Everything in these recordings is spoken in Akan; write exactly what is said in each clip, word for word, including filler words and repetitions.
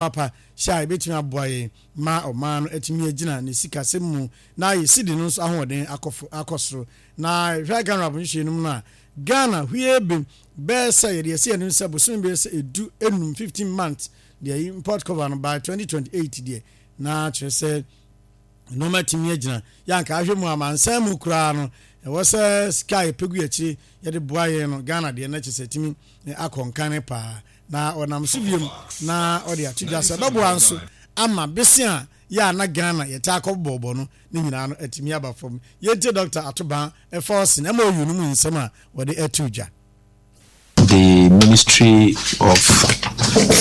Papa hyɛ a ebetumi aboa yɛn ma ɔman no atumi agyina ne sikasɛm mu na ayɛ sidi no nso ahoɔden akɔ akɔ soro. Na hwɛ Ghana nhyehyɛ no mu no a, Ghana hwie bem bɛyɛ sɛ yɛde asi anim sɛ bosome bɛyɛ sɛ edu enum, fifteen months deɛ, import cover no by twenty twenty-eight deɛ, na kyerɛ sɛ nneɛma tumi agyina. Yɛanka ahwɛ mu amansan mu koraa no, ɛwɔ sɛ sika a yɛpɛ gu akyire yɛde boa yɛn no, Ghana deɛ no kyerɛ sɛ tumi akɔ nkane paa. Na ɔnam so biom na ɔde ato dwa sɛ ɛbɛboa nso ama bese a yɛ a na Ghana yɛtaa akɔ bɔɔbɔ no ne nyinaa no atumi aba fam. Yɛntie Doctor Ato Baah Forson M O U no mu nsɛm a wɔde ato dwa. The Ministry of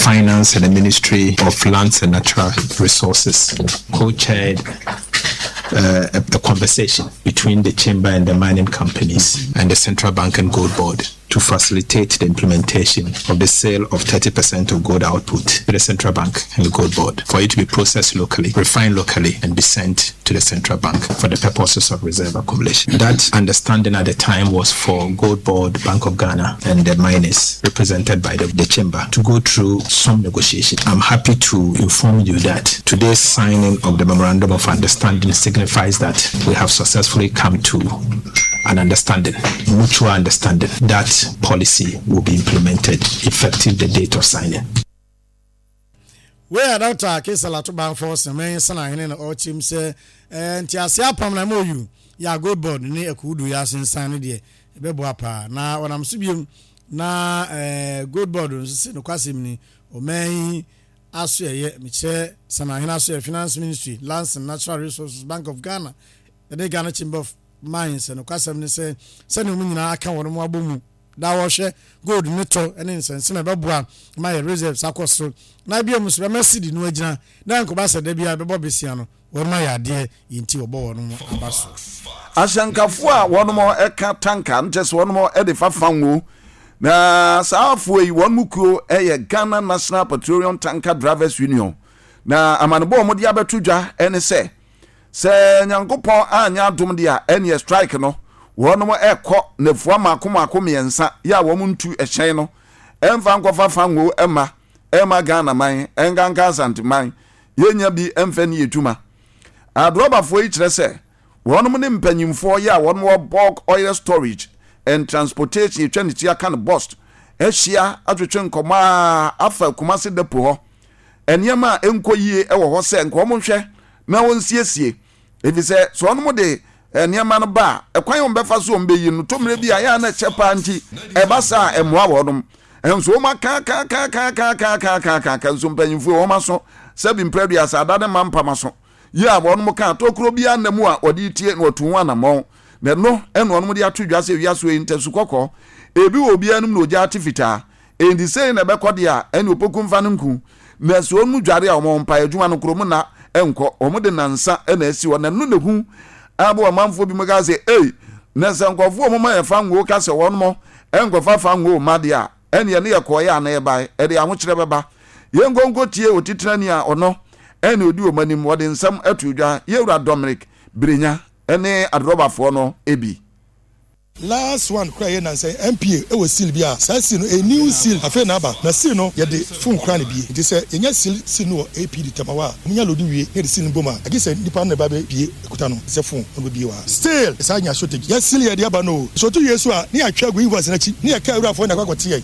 Finance and the Ministry of Lands and Natural Resources co-chaired uh, a, a conversation between the chamber and the mining companies and the Central Bank and Gold Board to facilitate the implementation of the sale of thirty percent of gold output to the Central Bank and the Gold Board for it to be processed locally, refined locally, and be sent to the Central Bank for the purposes of reserve accumulation. That understanding at the time was for Gold Board, Bank of Ghana, and the miners represented by the, the chamber to go through some negotiation. I'm happy to inform you that today's signing of the memorandum of understanding signifies that we have successfully come to an understanding, mutual understanding, that policy will be implemented effective the date of signing. Wei a Doctor Cassiel Ato Baah Forson Sanahene na ɔkyerɛm sɛ ɛɛ ntease apam na M O U yɛ a Gold Board ne akuudu yɛ asensan no deɛ, ɛbɛboa paa. Na ɔnam so biom na ɛɛ Gold Board nso sɛ nokwasɛm ni, ɔman yi aso ɛyɛ mekyerɛ Sanahene aso yɛ Finance Ministry, Lands and Natural Resources, Bank of Ghana ɛne Ghana Chamber of Mines, nokwasɛm ne sɛ sɛnea wɔn nyinaa aka wɔn mo abɔ mu da wɔhwɛ gold ne tɔ ne nsɛnsɛm a ɛbɛboa ma yɛ reserves akɔ soro na ebia mu nso bɛma cedi no agyina na nkɔba sɛ da bi a bɛbɔ besia no wɔn ayɛ adeɛ yɛn ti wɔbɔ wɔn mo aba so. Ahyɛnkafoɔ a wɔnom ɛka tanker no kyɛ sɛ wɔnom ɛde fa fango na saa afoɔ yi wɔn mu kuo ɛyɛ Ghana National Petroleum Tanker Drivers Union, na amanebɔ a wɔde abɛto dwa ɛne sɛ sɛ Nyankopɔn anyɛ adom deɛ a, ɛneɛ strike no wɔnom ɛkɔ nafua mako mako mmiɛnsa yɛ a wɔn ntu ɛhyɛn no ɛmfa nkɔfa fango ɛma ɛma Ghana man, ɛnkanka Asante man, yɛnya bi ɛmfɛ ne yɛtuma. Adrɔbafoɔ yi kyerɛ sɛ wɔnom ne mpanyimfoɔ yɛ a wɔnom wɔ Bulk Oil Storage and Transportation, etwa ne ti aka no BOST, ahyia atwetwe nkɔmɔ a afa Kumase depo hɔ nneɛma a ɛnkɔ yie wɔ hɔ sɛ nka wɔn nhwɛ na wɔnsiesie, efisɛ sɛ wɔnom de nneɛma no ba a, ɛkwan a wɔn bɛfa so wɔn bɛyi no tɔmmerɛ bi a yɛa na ɛkyɛ paa, nti ɛba saa a ɛmmoa wɔnom. Nso wɔn aka aka aka aka aka aka aka aka aka aka nso mpanyinfoɔ wɔn aso sɛbi mprɛduasa ada ne ma mpam aso yi a wɔn ka tokuro bi anam a wɔde tie na wɔtu ho anammɔn, na ɛno ɛna wɔn de ato dwa sɛ wiase yi ntɛso kɔkɔɔ ebi wɔ obiara anim na ogya ate fitaa, enti sɛyi na ɛbɛkɔ deɛ a, ɛne opoku mfa no nku na sɛ wɔn mu dware a wɔn mpa adwuma no kurom na ɛnkɔ wɔn de nansa ɛna asi hɔ, na ɛno na ehu abo ɔmanfoɔ bi mu ka sɛ ei, na sɛ nkɔfoɔ wɔn ma yɛ fa ngo ka sɛ wɔn mo ɛnkɔfa fa ngo ma deɛ a, ɛne ɛne yɛ kɔɔ yɛ ana yɛbae ɛde ahokyerɛ bɛba. Yɛn nkonko tie otitenani a ɔno ɛne odi wɔn anim, wɔde nsɛm ato dwa, yɛwura Dominic Birenya ɛne adrɔbafoɔ no ebi. Last one kora yɛ nansa N P A ɛwɔ seal bi a saa seal no a new seal afei na aba, na seal no yɛde phone kora ne bie, nti sɛ yɛnya seal seal no wɔ A P D Tamawa a wɔnya load wie na yɛde seal no bom a, agye sɛ nipa no na ɛba bɛ bie ekuta no sɛ phone na ɔbɛ bie wɔ ha. Still saa nya shortage yɛ seal yɛde aba no so to wie so a, ne yɛatwa agu invoice n'akyi ne yɛ kaa awurafoɔ na akɔ akɔte yɛ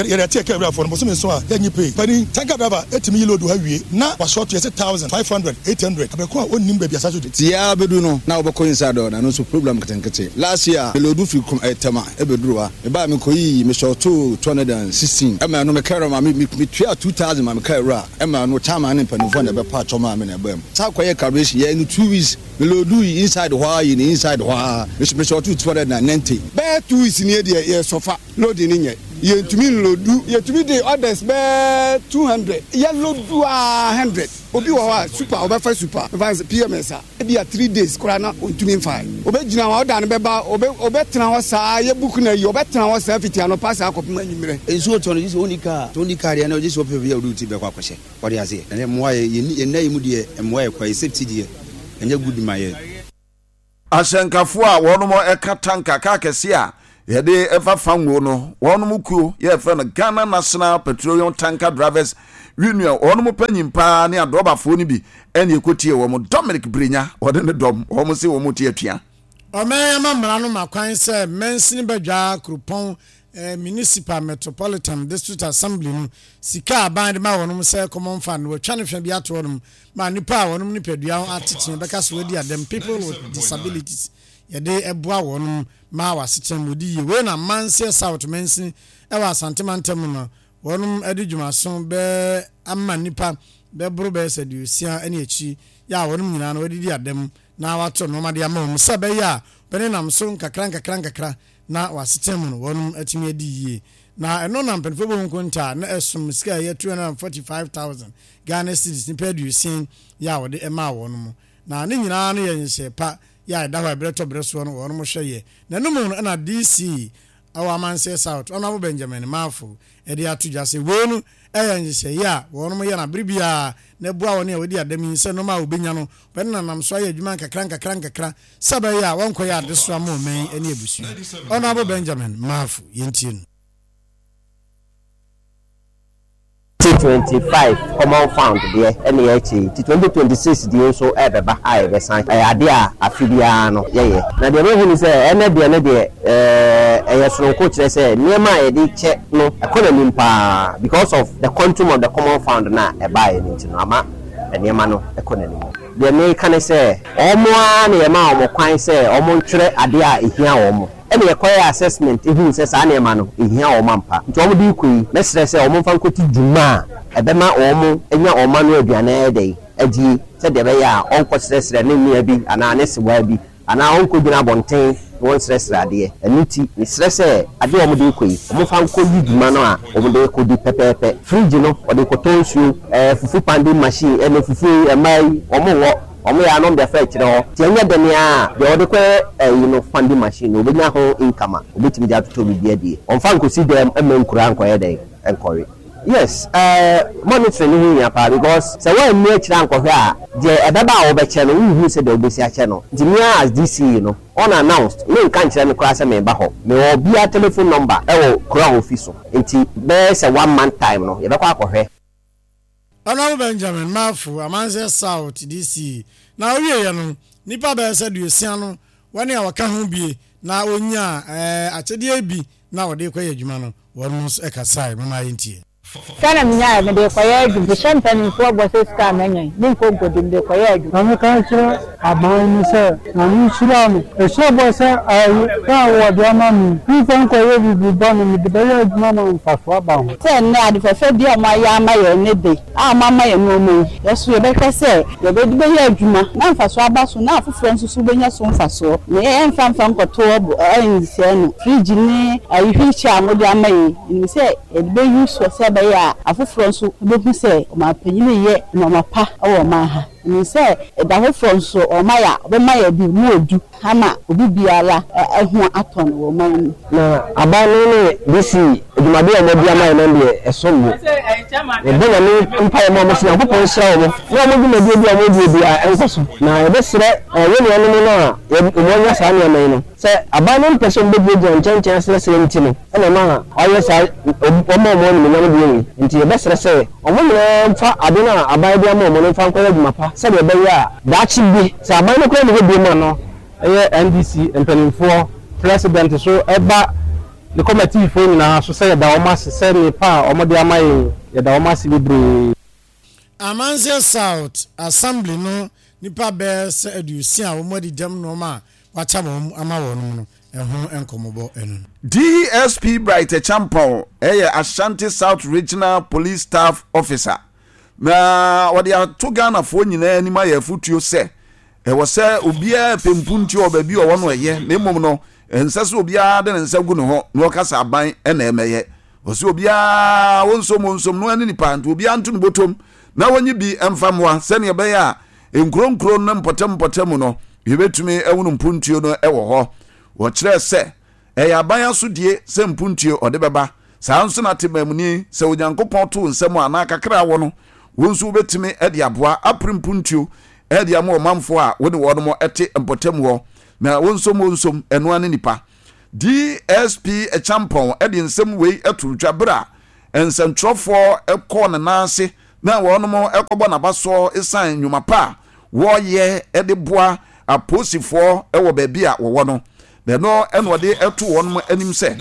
yɛde ate yɛ kaa awurafoɔ no bosome nso a yɛnyi pay. Pani tanker driver etumi yi load ha wie na wasɔɔto yɛ sɛ thousand five hundred, eight hundred abɛko a ɔnnim baabi asa shortage. Ti ya bɛdu no na wobɛkɔ inside hɔ na no nso problem nketenkete. Last year me load firi kum Tema ɛbɛduru ha, mebaa mekɔyii mesɔɔtoo two hundred and sixteen ɛma no mekɛrɛ ma metua two thousand ma meka awura ɛma no chairman ne mpanimfoɔ na ɛbɛpa atwɔ maa me na ɛbaa mu saa kɔyɛ calculation yɛ no two weeks me load yi inside hɔ a yi ne inside hɔ a mesɔɔtoo two hundred and ninety. Bɛyɛ two weeks nie deɛ, yɛ sɔfa load ni nyɛ, yɛntumi n load, yɛtumi de orders bɛɛ two hundred, yɛ load a hundred. Obi wɔ hɔ a super ɔbɛfa super nfa sɛ P M S a ebi a three days koraa na ontumi nfa, obɛgyina hɔ, ɔda no bɛba, ɔbɛtena hɔ saa yɛ book na yi ɔbɛtena hɔ saa fiti anɔpa saa kɔpem anwummerɛ. Nsuo tɔ no gye sɛ ɔnni kaa, sɛ ɔnni kaa deɛ na ɔgye sɛ ɔpɛ bi a ɔde ti bɛkɔ akɔhyɛ ɔde aseɛ. Ɛnɛ mmoa yɛ yɛnna yi mu deɛ, mmoa yɛ kwa yɛ safety deɛ ɛnyɛ good ma yɛ. Ahyɛnkafoɔ a wɔnom ɛka tanker kaa kɛseɛ a Yɛde ɛfa fango no, wɔn kuo yɛfrɛ no Ghana National Petroleum Tanker Drivers Union, wɔn panyin paa ne adrɔbafoɔ no bi ɛne ɛkɔtie wɔn. Dominic Brenya wɔde ne dɔm wɔn se wɔn te atua. Ɔman ama mmara no ma kwan sɛ mansini badwa kuropɔn eh, Municipal Metropolitan District Assembly no sika aban de ma wɔnom sɛ common fund no, wɔatwa ne hwɛ bi ato hɔnom ma nipa a wɔnom nipadua ho atekyene bɛka so wɔadi adɛm, people with disabilities, yɛde ɛboa wɔnom ma wɔasekyerɛ mu wɔdi yie. Wei na Manseɛ South mansini ɛwɔ Asantema ntam no, wɔnom de dwumaso bɛɛ ama nipa bɛboro bɛyɛ sɛ aduosia ne akyi yɛ a wɔnom nyinaa no wɔadidi adɛm na wato nneɛma de ama wɔn sɛ ɛbɛyɛ a bɛne nam so nkakra nkakra nkakra na wɔasetena mu no wɔnom atumi adi yie. Na ɛno na mpanimfoɔ bɔ nkonta na ɛsom sika a ɛyɛ two hundred and forty five thousand Ghana cedis nipa aduosia yɛ a wɔde ɛmaa wɔn mu. Na ne nyinaa no yɛ nhyehyɛ pa yɛ a ɛda hɔ a ɛbrɛ tɔ brɛ soɔ no wɔnom hwɛ yɛ. Na ɛno mu no ɛna D C ɛwɔ Amanseɛ South, Honourable Benjamin Maafo, ɛde ato dwa sɛ wei no ɛyɛ nhyehyɛeɛ a wɔnom yɛ no abere biara na ɛboa wɔn a wɔdi adam yi sɛ nneɛma a wɔbɛnya no bɛne nanam so ayɛ adwuma nkakra nkakra nkakra sɛ bɛyɛ a wɔnkɔyɛ adesoa ma ɔman ne abusua. Honourable Benjamin Maafo, yɛntie no. Twenty twenty-five common fund deɛ ɛne yɛakyi nti twenty twenty-six deɛ nso ɛbɛba a yɛbɛsan. Ɛyɛ adeɛ a afe biara no yɛyɛ, na deɛ mehu ni sɛ ɛnɛ deɛ no deɛ ɛɛ ɛyɛ soronko, kyerɛ sɛ nneɛma a yɛde kyɛ no ɛkɔ n'anim paa because of the quantum of the common fund na ɛbaeɛ no. Nti no ama nneɛma no ɛkɔ n'anim. Deɛ meka ne sɛ wɔn ara na yɛma wɔn kwan sɛ wɔn ntwerɛ adeɛ a ehia wɔn, ɛna yɛkɔyɛ assessment ehun sɛ saa nneɛma no ehia wɔn ampa. Nti wɔn de kɔ yi, mɛsrɛ sɛ wɔn mfa nkɔti dwuma a ɛbɛma wɔn anya wɔn ano aduane ayɛ dɛ adie, sɛdeɛ ɛbɛyɛ a ɔnkɔ srɛsrɛ ne nua bi anaa ne sewa bi anaa ɔnkɔ gyina abɔnten na wɔnsrɛsrɛ adeɛ. Ɛno nti mesrɛ sɛ adeɛ a wɔde kɔ yi, wɔmfa nkɔ yi dwuma no a wɔde kɔ di pɛpɛɛpɛ. Fridge no, wɔde kɔtɔ nsuo, ɛɛ fufu pounding machine ɛna fufuo yi mmaa yi wɔn wɔ wɔn yɛ anom de afa akyerɛ hɔ. Nti ɛnyɛ dɛn a deɛ wɔde kɔyɛ ɛyi no, pounding machine no, obɛnya ho income a obɛtumi de atotɔ biribi adie. Ɔmfa nkɔsi dɛm ɛma nkura nkɔyɛ dɛn nkɔwe. Yes, ɛɛ monitoring no ho hia paa because sɛ wɔanni akyire ankɔhwɛ a, deɛ ɛbɛba a wɔbɛkyɛ no, wonhu sɛ deɛ wobɛsi akyɛ no. Nti me as D C no, unannounced, menka nkyerɛ me koraa sɛ meba hɔ. Mewɔ obiara telephone number ɛwɔ kuro a ofi so, nti bɛyɛ sɛ one month time no yɛbɛkɔ akɔhwɛ. Honourable Benjamin Maafo, Amanseɛ South D C. Na owieɛ no, nipa bɛyɛ sɛ aduosia no wɔne a wɔka ho bie na wɔnya ɛɛ akyɛdeɛ bi na wɔde kɔyɛ adwuma no, wɔn nso ɛkasae. Mama yɛntie. Sika na menyaeɛ, mede kɔyɛ adwuma. Mehyɛ mpanimfoɔ bɔ sɛ sika a manya yi, menkɔ nkɔdi, mede kɔyɛ adwuma. Na meka kyerɛ aban no sɛ Nyame nhyira no. Ɛhyɛ bɔ sɛ ayi a wɔde ama me memfa nkɔyɛ biribi bɔne, mede bɛyɛ adwuma ma mfaso aba ho. Sɛ nnɛ ade fɛfɛ bi a ɔmayɛ ama yɛn ne de a ɔmama yɛn nneɛma yi, yɛso yɛbɛhwɛ sɛ yɛbɛde bɛyɛ adwuma na mfasoɔ aba so na afoforɔ nso so bɛnya so mfasoɔ, na yɛmfa mfa nkɔto ɛnsɛe no. Fridge ne ayi, wheelchair a mode ama yɛn, nim sɛ yɛde bɛyi soɔ sɛ ɛbɛyɛ a afoforɔ nso bɛhu sɛ ɔmanpanyin yɛ nneɛma pa wɔ ɔman ha. Nim sɛ ɛda foforɔ nso ɔma yɛ a ɔbɛma yɛ bi mu odu ama obi biara ɛho atɔ no wɔ ɔman mu. Na aban no ne D C adwumadeɛ a wɔde ama yɛn no deɛ, ɛsom bo. Yɛbɔ Nyame mpaeɛ ma ɔmo sɛ Nyankopɔn nhyira wɔn na ɔmo dwumadie bi a ɔmo die biara ɛnkɔ so. Na yɛbɛsrɛ yɛn nuanom no a wɔn anya saa nneɛma yi no sɛ aban no mpɛ sɛ ɔmo bɛgyinagyina nkyɛnkyɛn asrɛsrɛ nti no ɛna ma ɔyɛ saa ɔma ɔmo animuonyam deɛ wei. Nti yɛbɛsrɛ sɛ ɔmo nyinaa mfa ade no a aban de ama ɔmo no mfa nkɔyɛ adwuma pa, sɛdeɛ ɛbɛyɛ a daakye bi sɛ aban no koraa ne hɔ bio mu a no ɛyɛ N D C mpanimfoɔ, president so ɛba ne kɔmatiifoɔ nyinaa so sɛ yɛda wɔn ase sɛ nipa a wɔde ama yɛn, yɛda wɔn ase bebree. Amanseɛ South Assembly no nipa bɛɛ sɛ aduosia a wɔn adi dɛm nneɛma a wakyɛ wɔn ama wɔn no ɛho nkɔmmɔbɔ ɛno. D S P Bright Champon ɛyɛ Ashanti South Regional Police Staff Officer na wɔde ato Ghanafoɔ nyinaa anim ayɛ afotuo sɛ ɛwɔ sɛ obiara pɛ mpuntuo wɔ baabi a ɔwɔ no ɛyɛ, na mmom no ɛnsɛ sɛ obiara de ne nsa gu ne ho na ɔkasa aban ɛna ɛmɛyɛ. Ɔsɛ obiara wɔnsom wɔnsom no ɛne nipa, nti obiara nto ne bɔtɔm na wɔnyi bi mfa mmoa sɛnea ɛbɛyɛ a nkuro nkuro no mpɔtam mpɔtam no yɛbɛtumi ɛwono mpuntuo no ɛwɔ hɔ. Wɔkyerɛ sɛ ɛyɛ aban asodie sɛ mpuntuo ɔde bɛba. Saa nso na temamuni sɛ Onyankopɔn to nsɛm a anaa kakra wɔ no, wɔn nso wobɛtumi de aboa apere mpuntuo ɛde ama ɔmanfoɔ a wɔne wɔn te mpɔtam hɔ na wɔnsom wɔnsom ɛnoa ne nipa. D S P Acheampong de nsɛm wei to dwa berɛ a nsɛntwerɛfoɔ kɔɔ ne nan ase na wɔnom kɔbɔ n'abasoɔ ɛsiane nnwuma pa a wɔreyɛ de boa apolisifoɔ wɔ baabi a wɔwɔ no. Na ɛno ɛna ɔde to wɔn anim sɛ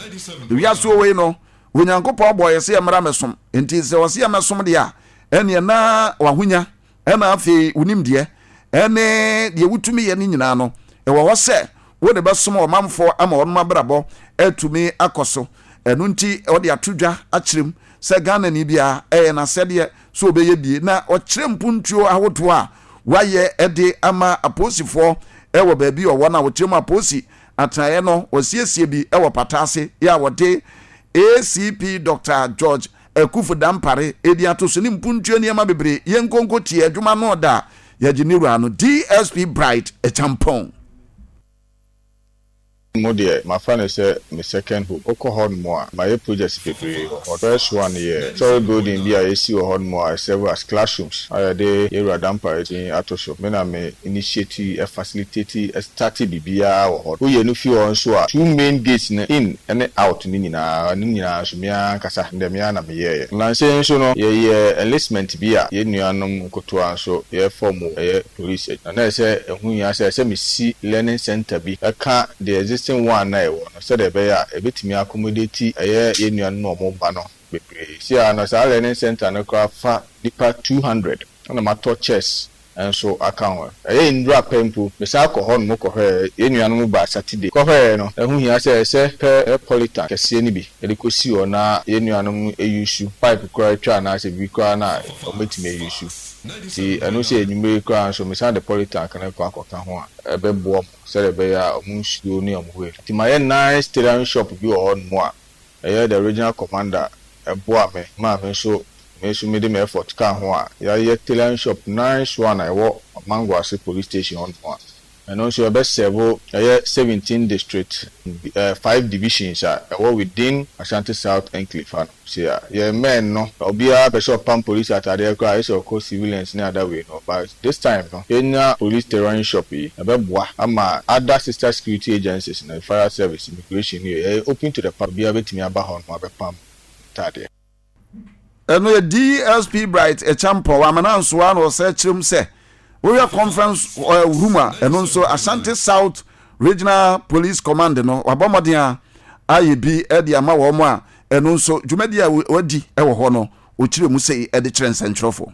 ewiase wei no, Onyankopɔn bɔ yɛ sɛ yɛmmra mɛsom, nti sɛ ɔsɛ yɛmɛsom deɛ a, ɛneɛ na wahonya ɛna afei wonim deɛ ɛne deɛ wotumi yɛ no nyinaa no ɛwɔ hɔ sɛ wode bɛsom ɔmanfoɔ ama wɔn abrabɔ atumi akɔ so. Ɛno nti ɔde ato dwa akyerɛ mu sɛ Ghana ni biara ɛyɛ n'asɛdeɛ sɛ ɔbɛyɛ bie, na ɔkyerɛ mpuntuo ahodoɔ a wayɛ ɛde ama apolisifoɔ ɛwɔ baabi ɔwɔ no a wɔkyerɛ mu apolisi atenaeɛ no, wɔsiesie bi ɛwɔ pata ase yɛ a wɔde A C P Doctor George Akufu Dampare edi ato so ne mpuntuo nneɛma bebree. Yɛn nkonko tie adwuma no da yɛgye ne wura no, D S P Bright Acheampong. Mo deɛ, mafa no sɛ me second home. Wokɔ hɔ nom a, mayɛ projects bebree wɔ hɔ. First one yɛ story building bi a yɛsi wɔ hɔ nom a serve as classrooms a yɛde yɛwura Dampare din ato so. Me na me initiate, facilitate, start biribiara wɔ hɔ. Woyɛ no fi hɔ nso a, two main gates no, in ne out no nyinaa, no nyinaa nso me ankasa ndɛ me ara na meyɛɛyɛ. Nnansa yi nso no, yɛyɛ enlistment bi a yɛn nuanom nkotoa nso yɛfɔm wɔ ɛyɛ police na na ɛsɛ ɛho hia sɛ ɛsɛ mesi learning center bi ɛka the existing one na ɛwɔ no, sɛdeɛ ɛbɛyɛ a ɛbɛtumi accommodate ɛyɛ yɛn nuanom a wɔn ba no bebree. Si a no, saa learning center no koraa fa nipa two hundred, ɛna matɔ chairs nso aka ho. Ɛyɛ nnura pɛ mpo, mesan kɔ hɔ nom kɔhwɛɛ yɛn nuanom ba Saturday kɔhwɛɛ no, ɛho hia sɛ ɛsɛ pɛ polytank kɛseɛ no bi yɛde kɔsi hɔ na yɛn nuanom ɛ use pipe koraa atwa anaasɛ biribi koraa na wɔbɛtumi a use. Nti ɛno sɛ enwumere koraa nso, mesan de polytank no kɔ akɔka ho a ɛbɛboa mo sɛdeɛ ɛbɛyɛ a ɔmo nsuo ne ɔmo wei. Nti mayɛ nice tailoring shop bi wɔ hɔ nom a ɛyɛ the regional commander ɛboa me maa me nso me nso mede me effort ka ho a yɛayɛ tailoring shop nice one a ɛwɔ Mangoase Police Station hɔ nom a ɛno nso yɛbɛ serve ɛyɛ seventeen district, uh, five divisions a ɛwɔ within Ashanti South enclave ha no. Se a yɛn men no, obiara pɛ sɛ ɔpam police atadeɛ koraa, ayɛ sɛ ɔkɔ civilians ne ada wei no, but this time no, yɛnya police tailoring shop yi, ɛbɛboa ama other sister security agencies no, fire service, immigration no, yɛ open to the public, obiara bɛtumi aba hɔ nom abɛpam ntadeɛ. Ɛno yɛ D S P Bright Acheampong. Amana nsoa na ɔsɛ kyerɛ mu sɛ wohwɛ conference room a, ɛno nso Ashanti South Regional Police Command no wabɔ mmɔden a ayɛ bi de ama wɔn a ɛno nso dwumadi a wadi wɔ hɔ no, ɔkyerɛ mu sɛ ɛde kyerɛ nsɛntwerɛfoɔ.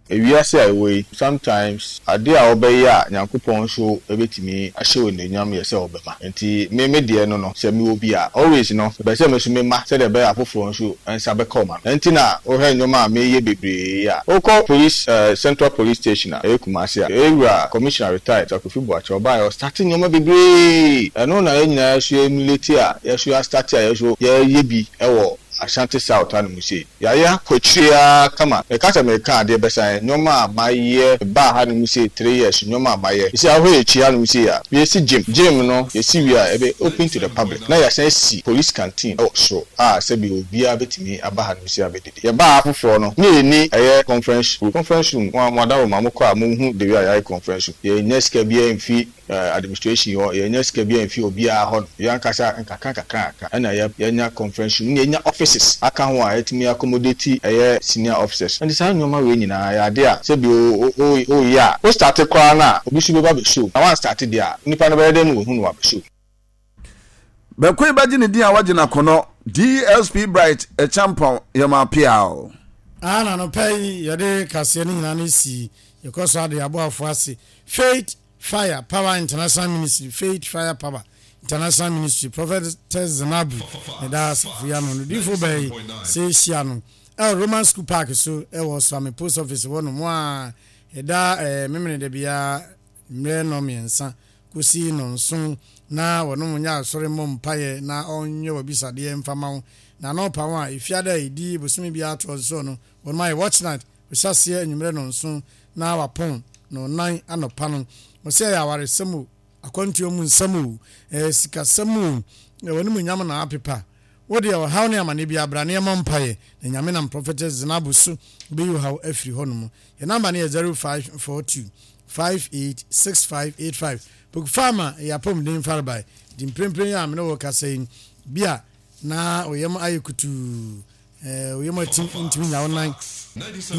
Ewiase a ɛwɔ yi, sometimes ade a wɔbɛyɛ a Nyankopɔn nso bɛtumi ahyɛ wɔ n'anuonyam yɛ sɛ wɔbɛma. Nti me me deɛ no no sɛ mewɔ bi a, always no mepɛ sɛ me nso mema sɛdeɛ ɛbɛyɛ afoforɔ nso nsa bɛka ɔma no. Nti na wohwɛ nnwoma a meyɛ bebree yi a, wokɔ police, uh, Central Police Station a ɛyɛ Kumase a, ɛwura Commissioner retired Kofi Boakye ɔbaa yɛ ɔ start nneɛma bebree. Ɛno na yɛn nyinaa so emulate a yɛso yɛa start a yɛso yɛyɛ bi ɛwɔ Ashanti South hanom sei. Yɛayɛ akɔ akyire ara kama. Meka sɛ meka adeɛ bɛsan nneɛma a mayɛ baa hanom sei three years, nneɛma a mayɛ sisi ahɔ akyi hanom sei a, yɛsi gym. Gym no yɛsi wie a, ɛbɛ open to the public, na yɛasan si police canteen ɛwɔ soro a sɛbi obiara bɛtumi aba hanom sei abɛdidi. Yɛbaa afoforɔ no ne yɛni ɛyɛ conference room. Conference room mo mo adawoma mo kɔ a, mo hu the way a yɛayɛ conference room. Yɛnya sika biara mfi administration hɔ, yɛnya sika biara mfi obiara hɔ no. Yɛn ankasa nkakra nkakra nkakra ɛna yɛ yɛnya conference room ne yɛnya offices aka ho a yɛtumi accommodate ɛyɛ senior officers. Nti saa nneɛma wei nyinaa yɛ ade a sɛbi o o o yɛ a o start koraa na obi nso bɛba bɛso na wan start deɛ a, nipa no bɛyɛ dɛ no wɔhu no wabɛso. Bɛko yi bɛgye ne din a wagye n'akɔnɔ, D S P Bright Acheampong, yɛma piao. Ana anɔpa yi yɛde kaseɛ no nyinaa no si yɛkɔ so ade aboafo ase. Faith Fire Power International Ministry, Faith Fire Power International Ministry, Prophetess Zenabu ne da asafo yi ano no difo bɛyi sɛ hyia no ɛwɔ Roman School Park so, ɛwɔ Suame Post Office hɔ nom a ɛda ɛɛ memene da biara mmerɛ nɔ mmiɛnsa kɔsi nɔnson, na wɔnom nyɛ asɔre mmɔ mpaeɛ na ɔnyɛ wɔbisadeɛ mfama wo. Na anɔpa ho a efiada a ɛdi bosome biara toɔ so no, wɔnom ayɛ watch night, wɔhyɛ aseɛ anwummerɛ nɔnson na wapɔn na ɔnan anɔpa no. Wɔsɛ ɛyɛ awaresɛm o, akwantuo mu nsɛm o, ɛyɛ sikasɛm o, wɔne mu nyam na apepa. Wo deɛ ɔhaw ne amane biara bra na yɛmmɔ mpaeɛ na Nyame nam Prophetess Zenabu so bɛyi wo haw afiri hɔ nom. Yɛn number no yɛ zero five four two five eight six five eight five. Poku Farmer yɛ apɔmuden farebae nti mprempren yi a me ne wo rekasa yi bi a na wo yam ayɛ kutuu, eh, wo yam atim ntumi nya wo nan.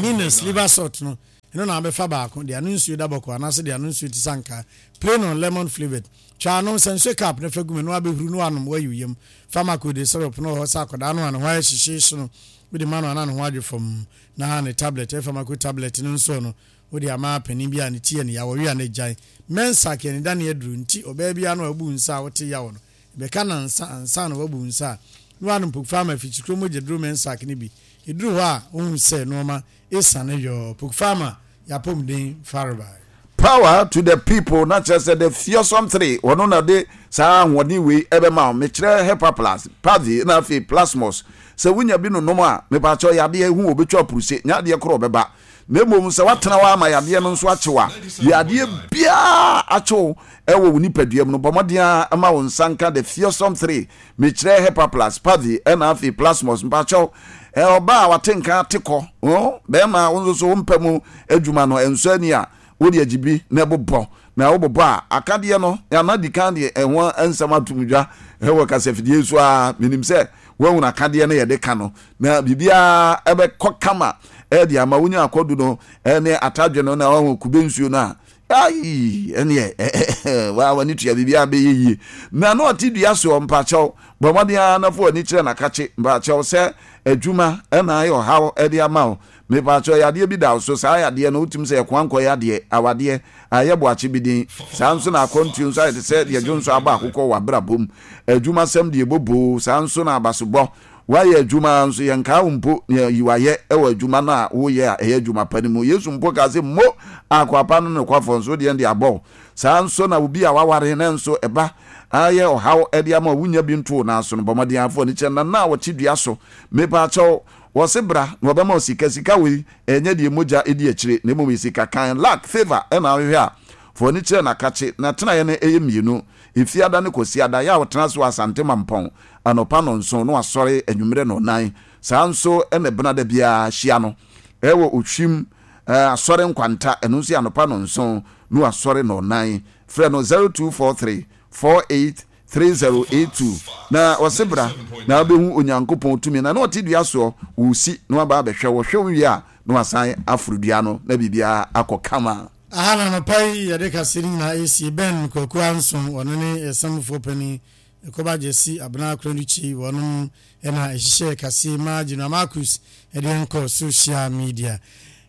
Minus liver salt no Ɛno na wobɛfa baako, de ano nsuo da bɔkɔɔ anaasɛ de ano nsuo te sɛ ankaa, plain or lemon flavoured. Twa ano, sɛ nsuo cup no fa gu mu, ɛno ara bɛhuru na woanom, woayi wo yam. Fa Macode syrup no wɔ hɔ sɛ akwadaa no a ne ho ayɛ hyehyeehye no, wode ma no a na ne ho adwo fɔmm. Na ne tablet, ɛyɛ Pharmaco tablet no nso no, wode ama panin bi a ne ti yɛ no yaw, ɔwe a na agyae. Mensac yɛ anidane aduro, nti ɔbaa biara no a wabu nsa a wote yaw no, ɛbɛka nnansa ansa na wabu nsa a, na woanom Pokfarma afikyikuro mogyaduro Mensac no bi. Ɛduru hɔ a, wohu sɛ nnoɔma Esiane yɔɔ Pokfarma y'apɔmuden farebae. Power to the people na kyerɛ sɛ the fearsome three ɔno na ɔde saa ahoɔden wei ɛbɛma wo mekyerɛ hepaplus pavi na afei plasmos sɛ wonya bi nonom a mepaakyɛw yadeɛ hu wɔbɛtwa apuruse nyɛ adeɛ korɔ ɔbɛba na mmom sɛ woatena hɔ ama yadeɛ no nso akyew a yadeɛ biara akyew ɛwɔ wo nipadua mu no bɔ mmɔden a ma wo nsa nka the fearsome three Mekyerɛ Hepaplus, Pavi, ɛna afei Plasmos. Mpakyɛw, ɛ, ɔbaa a wate nka ate kɔ, oh, bɛrima a wo nso so wo mpa mu adwuma no ɛnsɔ ani a, wode agye bi na ɛbobɔ. Na wobobɔ a, akadeɛ no, ana di kan de ɛho nsɛm ato mu dwa wɔ kasafidie yi so ara. Menim sɛ woahunu akadeɛ no yɛde ka no, na biribiara ɛbɛkɔ kama ɛde ama wonya akɔdu no ne atadwe no na wahu kube nsuo no a, Aii, ɛneɛ waa w'ani tua biribiara bɛyɛ yie. Na na ɔte dua soɔ, mpakyɛw, bɔ mmɔden ara na fa w'ani kyerɛ n'akakye, mpakyɛw, sɛ adwuma na ayɛ ɔhaw de ama wo, mepakyɛw, yadeɛ bi da wo so, saa yadeɛ no wotumi sɛ ɛkoa nkɔ yadeɛ, awadeɛ, ayɛ boakye bi din, saa nso na akwantuo nso ayɛ te sɛ deɛ dwonsɔ abɔ akokɔ wɔ w'abrabɔ mu, adwumasɛm deɛ boboo, saa nso na abasobɔ, Woayɛ adwuma ara nso, yɛnkaa wo mpo nea yi wayɛ wɔ adwuma no a woyɛ a ɛyɛ adwuma pa no mu. Yesu mpo kaa sɛ, Mo akoa pa no nokwafoɔ nso, wodeɛ de abɔ wo. Saa ara nso na obi a waware nanso ɛba ayɛ ɔhaw de ama wo, wonnya bi nto wo nan so no, bɔ mmɔden ara fa w'ani kyerɛ nana a ɔte dua so. Mepaakyɛw, wɔse bra na wɔbɛma wo sika. Sika wei, ɛnyɛ deɛ mogya di akyire, na mmom yɛ sika kann. Luck, favour, na wohwehwɛ a, fa w'ani kyerɛ n'akakye. N'atenaeɛ no yɛ mmienu, Efiada ne Kwasiada. Yɛ a ɔtena ase wɔ Asante Mampɔn. Anɔpa nnɔnson na wasɔre anwummerɛ nnɔnnan. Saa nso na ɛbena da biara hyia no wɔ Ohwim Asɔre Nkwanta, ɛno nso yɛ anɔpa nnɔnson na wasɔre nnɔnnan. Frɛ no zero two four three four eight three zero eight two na ɔse bra na wobɛhu Onyankopɔn tumi. Na na ɔte dua soɔ, ɔresi na waba abɛhwɛ wo. Ɔhwɛ wo wie a na wasan aforo dua no na biribiara akɔ kama. Aha na anɔpa yi yɛde kaseɛ no nyinaa resie. Ben Kwaku Anson, ɔno ne yɛn samfoɔ panin. Ekoba Gyasi Abena Akranduchi wɔnom na ɛhyehyɛɛ kaseɛ yi maa General Marcus de yɛn kɔɔ social media.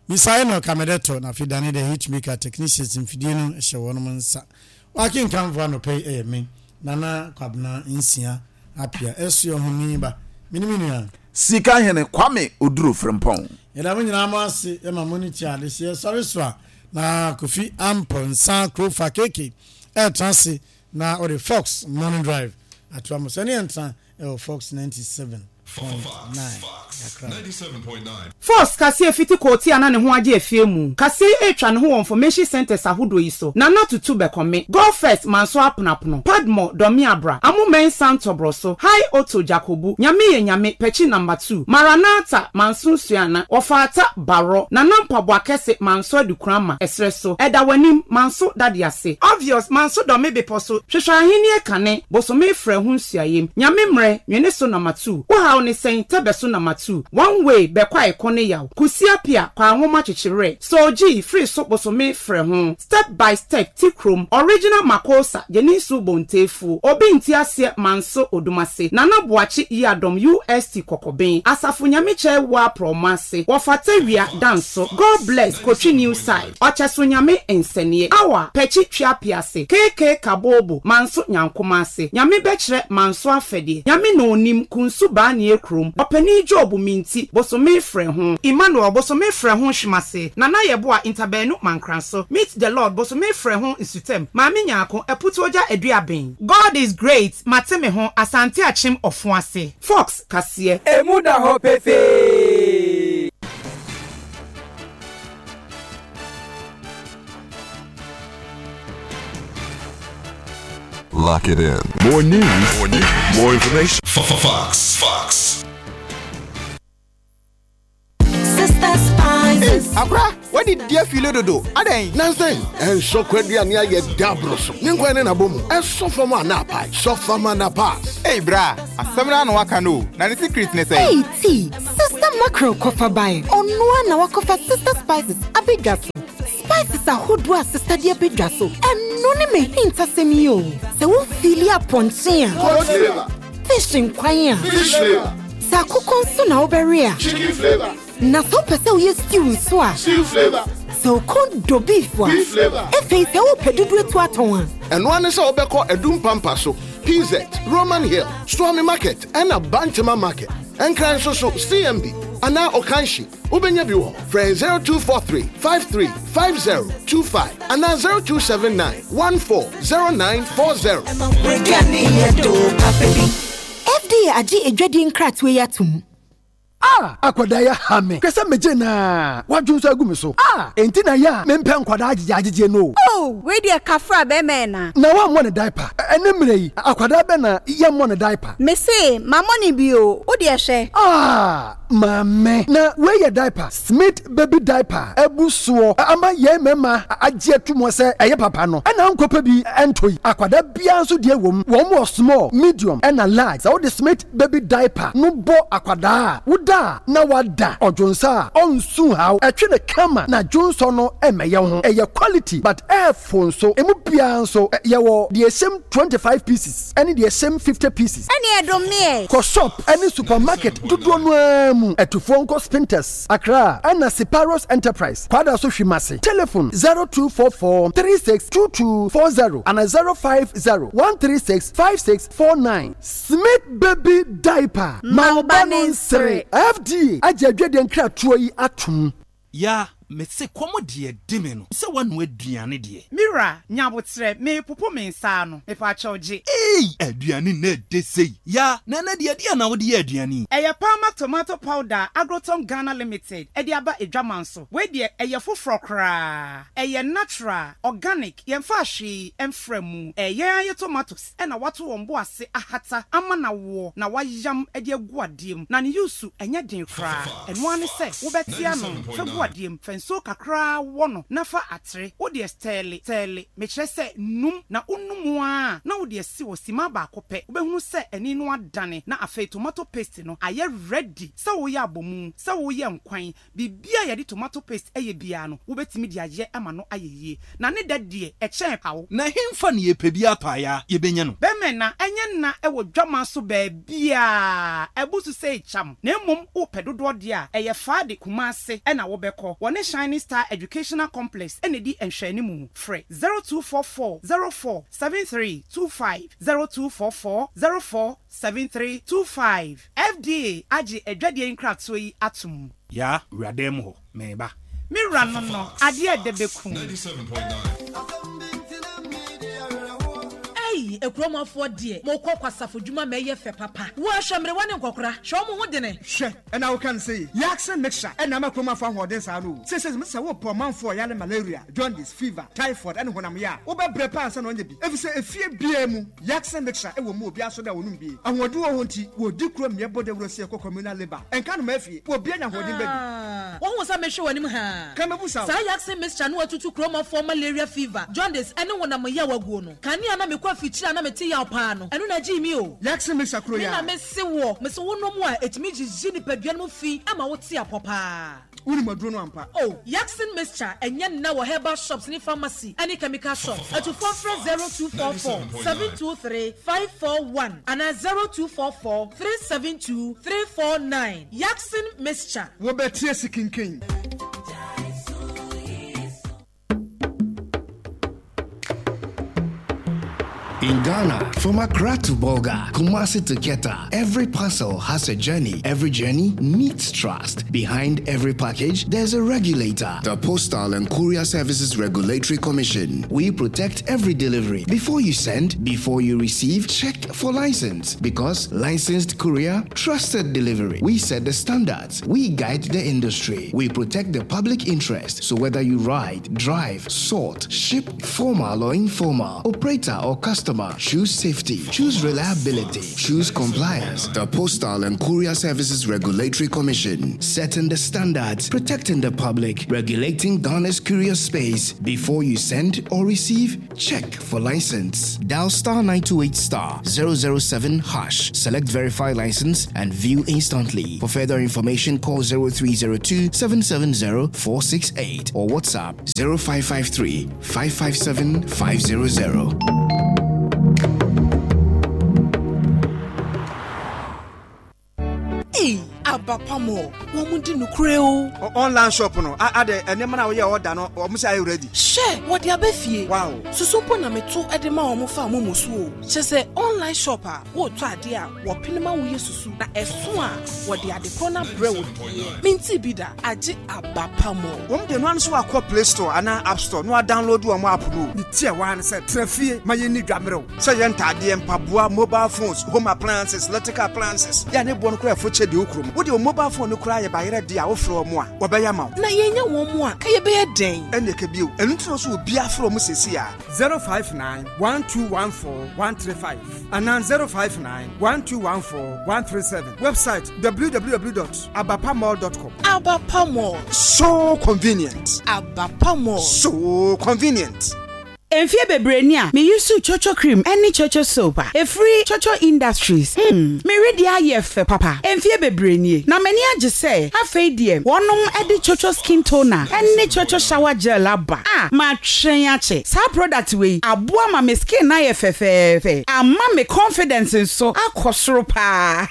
Misa Enoch Amedetɔ na afei Dane the Hitmaker technicians mfidie no hyɛ wɔnom nsa. Wakenkanfoɔ anɔpa yi yɛ me Nana Kwabena Nsia Appiah Ɛsoɛ Ɔhoni ba. Me ne me nua. Sika Hene Kwame Oduro Frimpong. Yɛda mo nyinaa mo ase ma mo ani tua adehyeɛ sɔre so a na Kofi Amponsah Krofa K K ɛretena ase Na ɔde Fox Morning Drive atoa mo so. Ɛne yɛn tra wɔ Fox ninety seven point nine Accra. Fox kaseɛ fiti koote a na ne ho agye afie mu kaseɛ yi retwa ne ho wɔ information centres ahodoɔ yi so, Nana Tutu Bɛkɔme, Go First Manso Aponapono, Padmore Dɔmeabra, Amo Mensah Ntɔbrɔso, High Otto Jakobu, Nyame Yɛ Nyame Pɛkyi Number Two, Maranatha Manso Nsuana, Wɔfaata Barɔ, Nana Mpaboa Kɛse Manso Adukurama, Ɛserɛ So, Ɛda W'anim Manso Dade Ase, Obvious Manso Dɔ Me Bepɔ So, Hwehwɛ Ahennie Kane, Bosome Frɛ Ho Nsuayem, Nyame Mmerɛ, Nwene So Number Two, Wo Haw Ne Sɛn, Tɛbɛ So Number Two, One Way, Bɛkɔ A Ɛko Ne Yaw, Kusi Apia, Kwaa Nwoma Kyekye Werɛ, Soul G, Firi So Bosome Frɛ Ho, Step by Step, Ti Krom, Original Makosa, Gyeninsu Bontefuo, Obi Nte Aseɛ Manso Odumase, Nana Boakye Yiadom U S T Kɔkɔben, Asafo Nyame Kyɛe Woa Prɔmo Ase, Wɔfata Wia, Danso, God Bless, Kotwi New Side, Ɔkyɛso Nyame Nsɛneɛ, Awa, Pɛkyi Twea Piase, K K Kabobo, Manso Nyankoma Ase, Nyame Bɛkyerɛ, Manso Afɛdeɛ, Nyame Na Onim, Kunsu Baanie Krom, Ɔpanin Job Minti, Bosome Frɛ Ho, Emmanuel, Bosome Frɛ Ho Hwemase, Nana Yeboah Ntabaanu Mankranso, Meet the Lord, Bosome Frɛ Ho Nsutam, Maame Nyarko, Aputuogya Aduaben. God is great, Mate me ho, Asante Akyem Ɔfoase. Fox kaseɛ. Emu da hɔ pefee. Lock it in. More news, more news, more information. Fox. Fox. Sister Spices. Akora, wadi di afile dodo. Adɛn? Nansan, ɛnsɔ kwaduane ayɛ daboro so. Ne nkwan ne n'abɔ mu. Ɛsɔ fam a na apae. Sɔ fam a na pass. Ei bra, asɛm no ano waka no. Na ne secret ne sɛ. Ei ti, Sister Mackerel kɔfa bae. Ɔnoa na wakɔfa Sister Spices abɛdwa so. Spices ahodoɔ a Sister de abɛdwa so. Ɛno ne me hintasɛm yi o. Sɛ wofili apɔnkye a. Goat flavor. Fish nkwan a. Fish flavor. Sɛ akokɔ nso na wobɛwe a. Chicken flavor. Na sɛ wopɛ sɛ woyɛ stew nso a. Stew flavor. Sɛ wokɔn dɔ beef a. Beef flavor. Afei sɛ wopɛ dodo etu atɔn a. Ɛno ane sɛ wobɛkɔ Adum Pampa so, P Z, Roman Hill, Suame Market, ɛna Bantama Market. Ɛnkran nso so C M B anaa Okanshi. Wobɛnya bi wɔ frɛ zero two four three five three five zero two five anaa zero two seven nine one four zero nine four zero. F D A agye adwadie nkratoɔ yi atom. Ah, akwadaa yɛ ha me hwɛ sɛ megye naa wadwo nso agu me so. Ah, enti na yɛ a mempɛ nkwadaa agyegye agyegye no. Oh, wei deɛ kafra bɛrima na. Na wammɔ ne diaper. Ɛne mmerɛ yi, akwadaa bɛ na yɛmmɔ ne diaper? Mese mammɔ ne bi o, wo deɛ hwɛ. Ah, maame, na wei yɛ diaper, Smith Baby Diaper abu soɔ ama yɛn mmarima agye ato mu sɛ ɛyɛ papa no. Ɛna nkɔpɛ bi ɛntɔ yi, akwadaa biara nso deɛ wɔ mu. Wɔn wɔ small, medium ɛna large. Sɛ wode Smith Baby Diaper no bɔ akwadaa a, woda a na wada ɔdwonsa a ɔnsu haw, ɛtwe ne kama na dwonsɔ no ɛmɛyɛ ho. Ɛyɛ quality but ɛɛfo nso. Emu biara nso yɛwɔ deɛ ɛhyɛm twenty five pieces ɛne deɛ ɛhyɛm fifty pieces. Ɛne ɛdom meɛ. Kɔ shop ɛne supermarket dodoɔ no ara mu. Ɛtufoɔ nkɔ Spintex, Accra, ɛna Separos Enterprise, Kwada so Hwimase. Telephone zero two four four three six two two four zero ana zero five zero one three six five six four nine. Smith Baby Diaper, ma wo ba no nsere. F D A agye adwadeɛ nkratoɔ yi atom. Ya mese kɔm deɛ di me no sɛ woanoa aduane deɛ. Mira, nyabotrɛ, meepopo me nsa ano, mepaakyɛw gye. Ei, aduane na ɛdɛ sei. Ya na ɛnɛ deɛ, deɛ na wode yɛ aduane yi? Ɛyɛ Palma Tomato Powder a Agrotom Ghana Limited ɛde aba adwaman so. Wei deɛ ɛyɛ foforɔ koraa. Ɛyɛ natural, organic, yɛmfa hwee ɛmfra mu. Ɛyɛ ayɛ tomatoes ɛna wato wɔn bo ase ahata ama na woɔ na wayam de agu adeɛ mu. Na ne use ɛnyɛ den koraa. Ɛno ara ne sɛ wobɛte ano fa gu adeɛ mu, fa nsuo kakraa wɔ no na fa atere. Wode stir stir, mekyerɛ sɛ num na wonum a na wode asi wɔ sima baako pɛ. Wobɛhunu sɛ ani no adane na afei tomato paste no ayɛ ready sɛ woyɛ abɔmu, sɛ woyɛ nkwan, biribia yɛde tomato paste ɛyɛ biara no, wobɛtumi de ayɛ ama no ayɛ yie. Na ne da deɛ ɛkyɛn pawo. Na hemfa ne yɛpɛ bi atɔ a ya yɛbɛnya no? Bɛmɛ na ɛnyɛ nna ɛwɔ dwama so baabiaa ɛbu so sɛ ɛkyam, na mmom wopɛ dodoɔ deɛ a, ɛyɛ Faade, Kumase ɛna wobɛkɔ. Wɔne Shining Star Educational Complex ɛna di nhwɛanimu. Frɛ zero two four four zero four seven three two five, zero two four four zero four seven three two five. F D A agye adwadeɛ nkratoɔ yi atom. Ya wuradan mu hɔ, meba. Me wura no no adeɛ ɛdɛ bɛkum. Ei, ekuromafoɔ deɛ, mokɔ kwasafo dwuma ma ɛyɛ fɛ papa. Wɔahwɛ mmerewa ne nkɔkora, hwɛ ɔmo ho dene. Hwɛ, ɛna woka no sɛ Yakse Mixture ɛna ama kuromafo ahoɔden saa no o. Sɛsɛ sɛ wopɛ ɔmanfoɔ yare malaria, jaundice, fever, typhoid ɛne honam yɛ a, wobɛbrɛ paa ansa na ɔnyɛ bi, ɛfiri sɛ efie biara mu Yakse Mixture ɛwɔ mu. Obiara so dɛ wɔnom bie ahoɔden wɔ hɔ nti wɔdi kuro mmeɛ bɔ dawuro sɛ yɛkɔ communal labour ɛnka no ma afie wɔbia nya ahoɔden baabi. Wɔhu sɛ mehwɛ w'anim haa. Ka mɛbu sa. Saa Yakse Mixture no atutu kuromafoɔ malaria, fever, jaundice ɛne honam yɛ waguo no. Kanea na mekɔ afikyiri a na mete yaw paa no, ɛno na gyee mi o. Yakse Mixture kuro me ya na mese wɔ mese wonom a ɛtumi gyigyi nipadua no mu fi ama wote apɔ paa. Wonim aduro no ampa. Oh, Yaksin Mixture ɛnyɛ nna wɔ herbal shops ne pharmacy ɛne chemical shops. Atufoɔ frɛ zero two four four seven two three five four one anaa zero two four four three seven two three four nine. Yaksin Mixture. Wobɛtie si kinkin. In Ghana, from Accra to Bolga, Kumasi to Keta, every parcel has a journey. Every journey needs trust. Behind every package, there's a regulator. The Postal and Courier Services Regulatory Commission. We protect every delivery. Before you send, before you receive, check for license. Because licensed courier, trusted delivery. We set the standards. We guide the industry. We protect the public interest. So whether you ride, drive, sort, ship, formal or informal, operator or customer, customer, choose safety, choose reliability, choose compliance. The Postal and Courier Services Regulatory Commission, setting the standards, protecting the public, regulating Ghana's courier space. Before you send or receive, check for license. Dial star nine two eight star zero zero seven hash. Select verify license and view instantly. For further information, call zero three zero two seven seven zero four six eight or WhatsApp zero five five three five five seven five zero zero. Hey, Abapamo, wɔn di nukure o. Online shop no, ade nneɛma na woyɛ order no, wɔn sɛ ayɛ ready. Hyɛ, wɔde aba fie. Wow. Susu mpo na meto de ma wɔn fa wɔn mu so o. Kyɛ sɛ online shop a wɔretɔ ade a wɔpene ma woyɛ susu na ɛso a wɔde ade korɔ na brɛ wo deɛ. Minti bi da, agye Abapamo. Wɔn de no ano so akɔ Play Store anaa App Store na download wɔn app no. Ne tie wa ne sɛ trafie ma yɛ ni dwamrew. Sɛ yɛ ntadeɛ, mpaboa, mobile phones, home appliances, electrical appliances. Ya ne bo no kora fo kyɛ de okrom. Wo de mobile phone no kora yɛ bayerɛ de a wo frɛ mo a wɔbɛyɛ ma wo. Na yɛnya wɔn mu a ka yɛbɛyɛ dɛn? Ɛne ka bio. Ɛno nti no so obi afrɛ mo sesi a zero five nine one two one four one three five and zero five nine one two one four one three seven. Website w w w dot abapamall dot com. Abapamall. So convenient. Abapamall. So convenient. Mfie bebree ni a me use Chocho cream any Chocho soap a efiri Chocho Industries. Hmm, me redi ayɛ fɛ papa. Mfie bebree nie. Na mani agye sɛ afei deɛ wɔnom ɛde Chocho skin toner ɛne Chocho shower gel aba. A ma twɛn akye. Saa product wei aboa ma me skin na yɛ fɛfɛɛfɛ. Ama me confidence nso akɔ soro paa.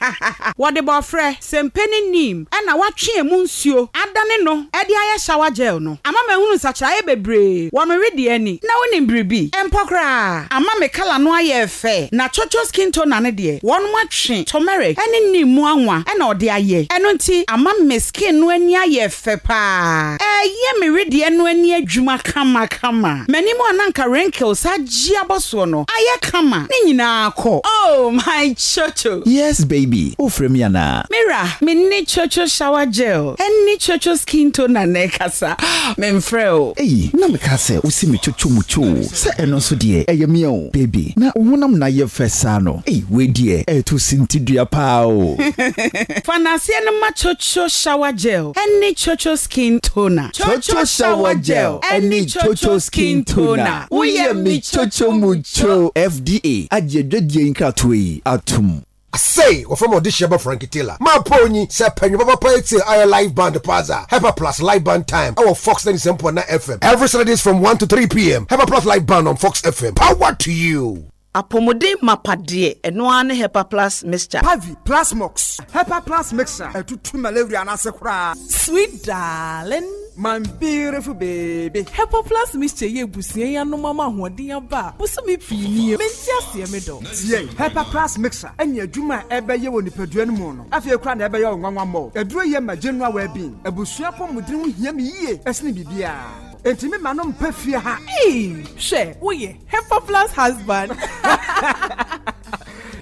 Wɔde bɔfrɛ sempe ne neem ɛna watwe emu nsuo adane no ɛde ayɛ shower gel no. Ama mahunu nsakyeraeɛ bebree wɔ me redi ani. Na wonim biribi empokra ama me kala no ayɛ fɛ na Chocho skin toner ne deɛ wɔn atwe turmeric ɛne neem mu anwa ɛna ɔde ayɛ ɛno nti ama me skin no ani ayɛ fɛ paa ɛyɛ me redi no ani adwuma kama kama m'anim ananka wrinkles agye abɔsoɔ no ayɛ kama ne nyinaa kɔ. Oh my Chocho. Yes baby, ofre me ana. Mira, me ne Chocho shower gel ɛne Chocho skin toner ne kasa memfrɛ o. Ei, na me ka sɛ wosi me chocho mucho. Sɛ ɛno nso deɛ ɛyɛ me o baby na honam na yɛ fɛ saa no. Ei, we deɛ ɛto sintidua paa o. Fanaseɛ no ma Chocho shower gel ɛne Chocho skin toner. Chocho shower gel ɛne Chocho skin toner. Woyɛ me chocho mucho. F D A agye dwadie nkratoɔ yi atom. I say, or from audition by Frankie Taylor. My pony, Sir Penny Papa I live band Plaza, Hepa Plus live band time. Our Fox ninety-seven point nine F M. Every Saturdays from one to three p m. Hepa Plus live band on Fox F M. Power to you. Apomode mapadie eno ane Hepa Plus mixture. Pavi Plus Mox. Hepa Plus mixture. Etutu malaria na sekura. Sweet darling. My beautiful baby. Hepa Plus mixture ye busia ya no mama ahoɔden aba. Busumi pii nie. Menti ase me do. Tie. Hepa Plus mixture enye adwuma ebe ye woni padua no mu no. Afei kura na ebe ye onwanwa mo. Aduro ye ma general well-being. Abusua pomodin ho hia me yie. Esene bibia. Enti me ma no mpa fie ha. Hey, hwe, wo ye Hepa Plus husband.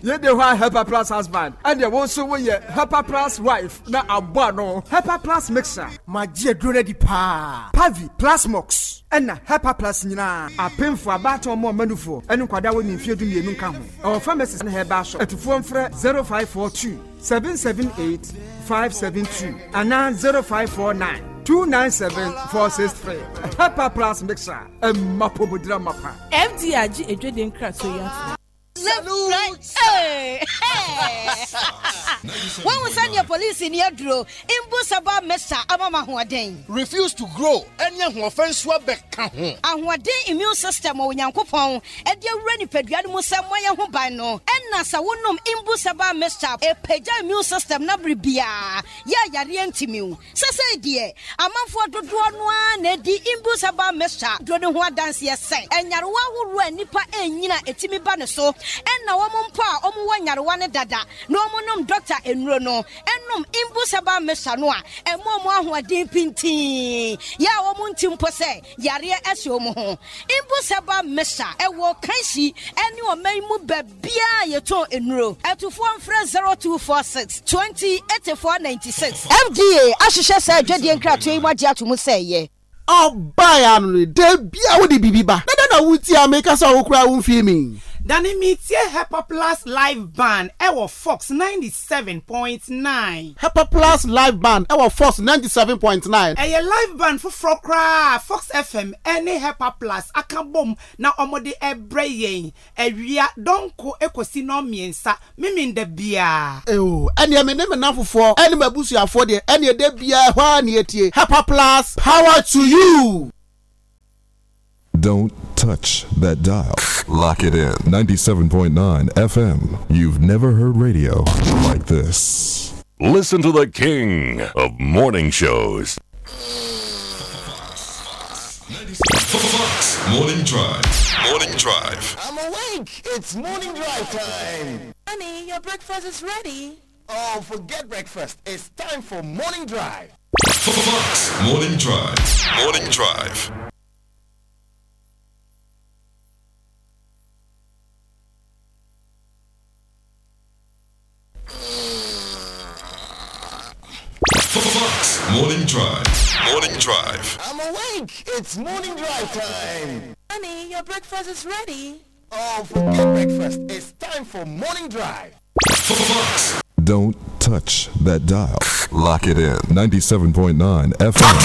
Ye de hwa Hepa Plus husband. And the one so wo ye Hepa Plus wife na aboa no. Hepa Plus mixer. Ma gye aduro di pa. Pavi Plus Mox. Enna Hepa Plus nyina apemfo abaton mo manufo enu kwada wo ni mfie du mienu nka ho. Our pharmacist na heba shop. Etufo mfrɛ zero five four two seven seven eight five seven two and zero five four nine two nine seven four six three. Hepa Plus mixer. Emma pomodira mapa. F D A G edwede nkrato ya. Left, right, hey, hey. When we send your police in your draw, impossible mesa amama hoaden. Refuse to grow. Any offense wa beka ho. Ahoaden immune system o nyankopon. E de wura ni padua no mu sɛ moyɛ ho ban no. Enna sa wonom impossible mesa e pagya immune system na bribia. Ya yare ntimiu. Sese de amanfo dodoɔ no a na di impossible mesa do ne ho adanse sɛ enyarewa horo anipa enyina etimi ba ne so. Enna wo mpo a omu wo nyarewa ne dada na omu nom doctor enuro no enum imbusaba mesa no a emo mu ahoɔden pintin ya wo mu ntimpo sɛ yare ehye omu ho imbusaba mesa ewo kanshi ene oman mu babia yeton enuro etufo mfrɛ zero two four six twenty eighty-four ninety-six F D A ahyehyɛ sɛ adwadie nkratoɔ yi mu agye ato mu sɛ ye. Ọba ya no de bia wo de bibi ba. Na na wuti America sa wo kura wo mfie mi. Dane metie Hepa Plus Live Band ɛwɔ Fox ninety seven point nine. Hepa Plus Live Band ɛwɔ Fox ninety seven point nine. Ɛyɛ live band foforɔ koraa a Fox F M ɛne Hepa Plus aka bom na wɔde ɛbrɛ yɛn awia dɔnko ɛkɔsi nnɔnmiɛnsa Memenda biara. Eo, ɛneɛ me ne me nnamfofoɔ ɛne m'abusuafoɔ deɛ ɛneɛ da biara ɛhɔ ara na yɛtie Hepa Plus, power to you! Don't touch that dial. Lock it in. ninety-seven point nine F M. You've never heard radio like this. Listen to the king of morning shows. Fox Morning Drive. Morning Drive. I'm awake. It's morning drive time. Honey, your breakfast is ready. Oh, forget breakfast. It's time for morning drive. Fox Morning Drive. Morning Drive. Fox Morning Drive. Morning Drive. I'm awake. It's morning drive time. Honey, your breakfast is ready. Oh, forget breakfast. It's time for morning drive. Fox. Don't touch that dial. Lock it in. ninety-seven point nine F M.